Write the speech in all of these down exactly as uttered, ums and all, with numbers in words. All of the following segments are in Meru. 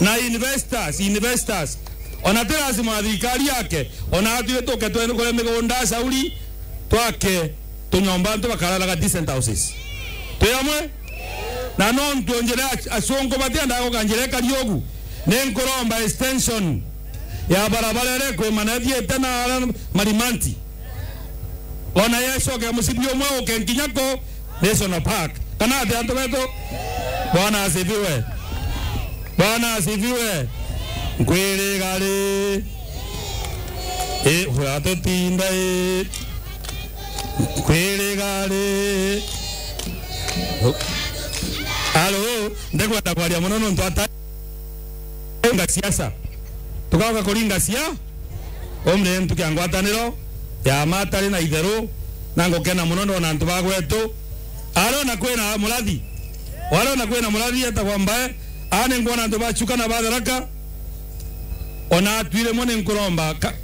Na investors, investors. Ona ti lazima wa thirikari yake, ona atwire tuke twene kuria migunda Sauri, twake tunyomba antu bakararaga decent houses. Twi amwe? Na nontu njira ac-, acunku batiendaga guka njira ikari ugu, ni nkuromba extension ya barabara iria ikwimana ithiite na aria Marimanti. Ona yecoke mucibi umwe uke nkinya ku National Park. Kana atia antu betu? Bwana asifiwe. Bwana asifiwe. Nkwiriga ri? I, uratutinda i? Nkwiriga ri? Alo, ndikwenda kwaria mono nontu ata-, kuringa siasa. Tukauga kuringa sia-, umri ntu kia ngwataniro ya matari na itheru, na ngukena mono ndona antu ba gwetu. Ariona kwina murathi, ariona kwina murathi etagwa Mbae, aa ni ngwona antu ba Chuka na ba Tharaka, ona atwi rimwe ni nkuromba ka-,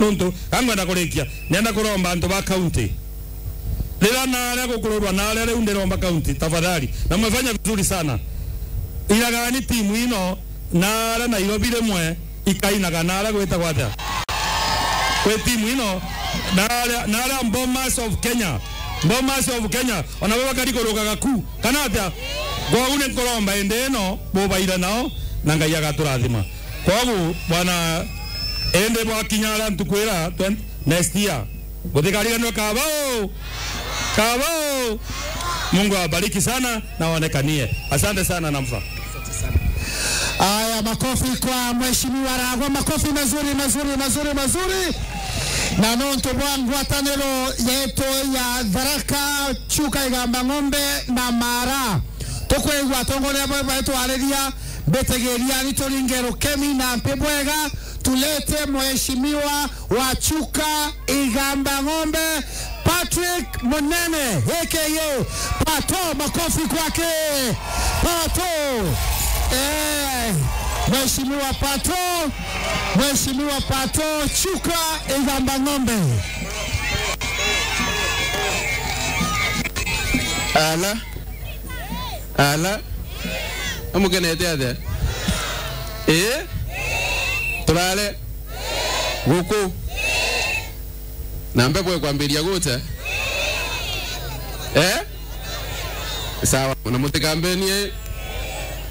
nontu, ka ngwenda kurikia, nienda kuromba antu ba county. Riria naria gukururwa naria riu ndiromba county, tafadhali. Na mmefanya vizuri sana. Iragani timu ino naria Nairobi rimwe ikainaga naria gwitagwa atia? Kwi timu ino naria, naria Bomas of Kenya. Bomas of Kenya. Ona bo bakari kurugaga ku. Kana atia? Kwou ni nkuromba indi ino bubaire nao na Ngai agaturathima. Koguo, bwana, indi bwakinya aria ntuku ira twen-, next year, gutikariganirwe kaba u? Kaba u? Mungu awabariki sana na waonekanie. Asante sana, Namfa. Aya, makofi kwa Mheshimiwa Ragwa, makofi mazuri, mazuri, mazuri, mazuri. Na nontu bwa ngwataniro yetu ya Tharaka, Chuka, Igamba Ng'ombe na Mara, tukwigua atongoria ba-, baitwariria, mbitigiria ni turinge rukemi na mpi bwega, tulete mheshimiwa wa Chuka Igamba Ng'ombe, Patrick Munene, A K A Pato. Makofi kwake. Pato. Eh, Mheshimiwa Pato, Mheshimiwa Pato, Chuka Igamba Ng'ombe. Ala. Ala. Amukenete atia? Ii? Turare? Guku? Na mpepo ikwambiria gucha? Eh? Sawa, na mutikambenie.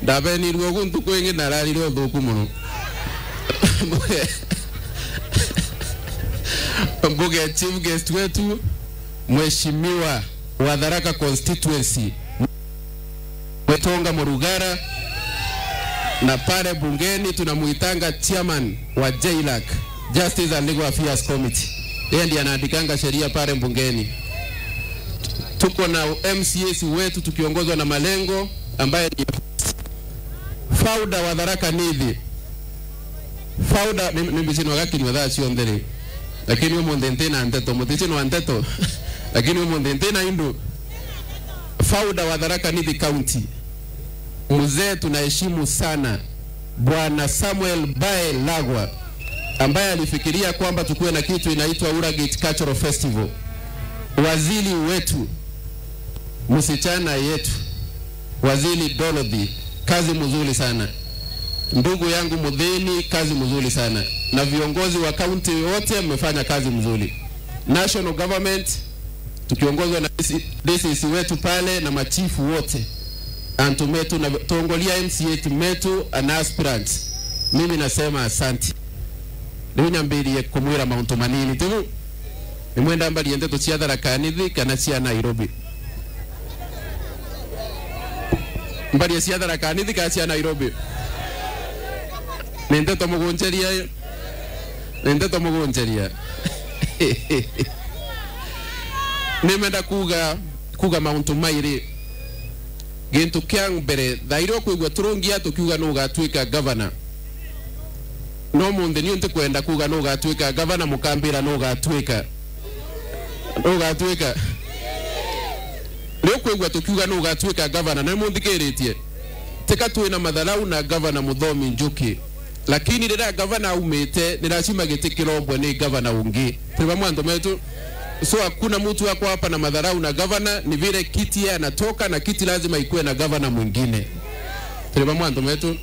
Ndabenirue ugu ntuku ingi nararire uthuku mono. Mbuge chief guest wetu, Mheshimiwa wa Tharaka constituency, Mwitonga Murugara, na pale bungeni tunamuitanga chairman wa JLAC, Justice and Legal Affairs Committee. Yeye ndiye anaandikanga sheria pale bungeni. Tuko na M C As wetu tukiongozwa na Malengo ambaye ni founder wa Tharaka Nithi. Founder, ni, ni mbici nwa gakinywa thaa cionthe ri. Lakini umunthi ntina nteto, mutici nwa nteto. Lakini umunthi ntina indu. Founder wa Tharaka Nithi County. Mzee tunaheshimu sana, Bwana Samuel Bae Lagwa, ambaye alifikiria kwamba tukuwe na kitu inaitwa Uragit Cultural Festival. Waziri wetu, msichana yetu, Waziri Dorothy, kazi mzuri sana. Ndugu yangu Muthini, kazi mzuri sana. Na viongozi wa kaunti wote mmefanya kazi mzuri. National government, tukiongozwa na D C, D C C wetu pale na machifu wote. Antu metu na tongoria M C A metu and aspirants. Mimi nasema asanti. Riu nyambirie kumwira mauntu manini tu. Nimwenda mbarie ndeto cia Tharaka Nithi kana cia Nairobi? Mbarie cia Tharaka Nithi kana cia Nairobi? Ni ndeto mugunjeria, ni ndeto mugunjeria. Nimenda kuga, kuga mauntu mairi. Gintu kia mbere, thaa iria ukwigua turungia tukiuga nu ugatuika gavana. No munthi niu ntikwenda kuga nu ugatuika gavana, mukambira nu ugatuika. Nu ugatuika. Riu ukwigua tukiuga nu ugatuika gavana, na nimunthikiritie. Tika twina matharau na gavana Muthomi Njuki. Lakini riria gavana aumite, ni lazima giti kirombwe ni gavana ungi. Turi vamwe antu metu? So hakuna mtu ako hapa na madharau na gavana, ni vile kiti yeye anatoka na kiti lazima ikuwe na gavana mwingine. Turi vamwe antu metu?